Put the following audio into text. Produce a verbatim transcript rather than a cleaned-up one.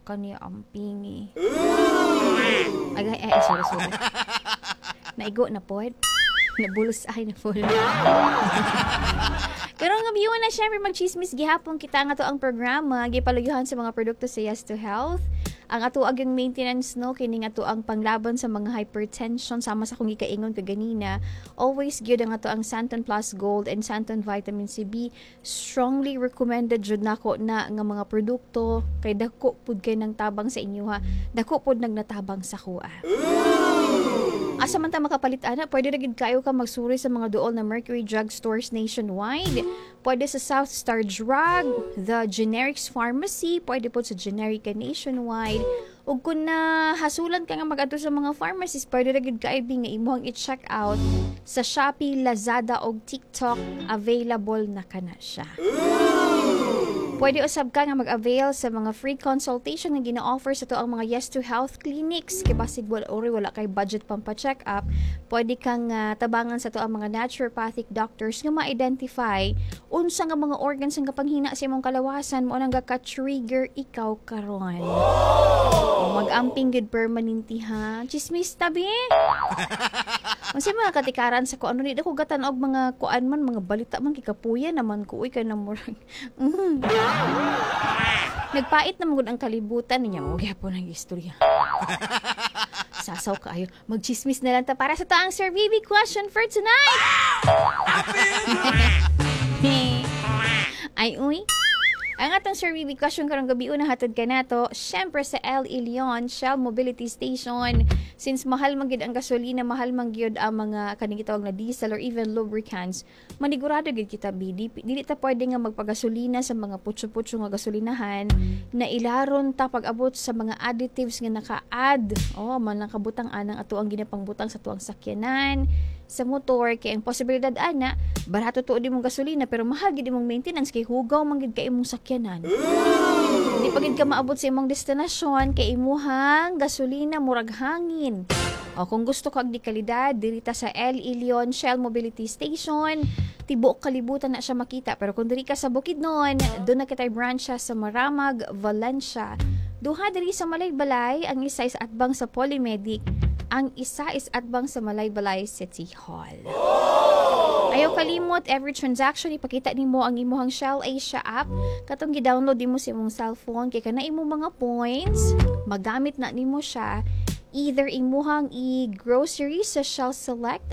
Kani ampingi. Ay, ay, ay, sorry, sorry. Naigo na pod. Nabulos ay na pod. Karong gabi na, syempre magchismis gihapon kita nga to ang programa gipaluyuhan sa mga produkto sa Yes to Health. Ang ato agyang maintenance, no, kini nga ato ang panglaban sa mga hypertension, sama sa akong gikaingon kaganina. Always gyud ang ato ang Santon Plus Gold and Santon Vitamin C B. Strongly recommended jud nako na nga mga produkto kay dako pud kay nang tabang sa inyo ha. Dako pud nagnatabang sa kuha. Asa man ta makapalit ana? Pwede ra gid kayo ka magsuri sa mga duol na Mercury Drug stores nationwide. Pwede sa South Star Drug, the Generics Pharmacy, pwede po sa Generica nationwide. Ug kung na hasulan ka nga mag-adto sa mga pharmacies, pwede ra gid kaayo nga imong i-check out sa Shopee, Lazada ug TikTok, available na kana siya. Pwede usab ka nga mag-avail sa mga free consultation nga gina-offer sa to ang mga Yes to Health clinics. Kay basig wala ori wala kay budget pampa-check up, pwede kang ah, tabangan sa to ang mga naturopathic doctors nga ma-identify unsa nga mga organs ang kapanghina sa imong kalawasan mo nang ka-trigger ikaw karon. O, mag-amping gud permanente ha. Chismis tabi. Unsa mga katikaran sa ko ano ni ko gatan og mga kuan man, mga balita man, kikapuya naman ko uy, kay namurag. Mm. Nagpait na gud ang kalibutan niya mo gyapon ang istorya. Sasaw kaayo. Magchismis na lang ta para sa taang Sir B B question for tonight. Ay, uy. Ang atong Sir B B question karong gabi una hatod ka nato, syempre sa El Ilion Shell Mobility Station. Since mahal man gid ang gasolina, mahal man gyud ang mga kaning gitawag na diesel or even lubricants, manigurado gid kita bi di, dili ta pwede nga magpagasolina sa mga putyo-putyo nga gasolinahan na ilaron ta pag-abot sa mga additives nga naka-add. Oh, man lang kabutang anang ato ang ginapangbutang sa tuang sakyanan, sa motor, kay ang posibilidad ana barato tuod imong gasolina pero mahal gid imong maintenance kay hugaw man gid kay imong sakyanan. Di pa gid ka maabot sa imong destinasyon kay imuhang gasolina murag hangin. O kung gusto ka og di kalidad, diri ta sa El Ilion Shell Mobility Station. Tibuok kalibutan na siya makita. Pero kung diri ka sa Bukidnon, doon na kita'y branch sa Maramag, Valencia. Duha diri sa Malaybalay, ang isa is atbang sa Polymedic, ang isa is atbang sa Malaybalay City Hall. Ayaw kalimot, every transaction ipakita nimo ang imuhang Shell Asia app. Katong gi-download nimo sa imong cellphone kay kana imong mga points, magamit na nimo siya either imuhang i-grocery sa Shell Select.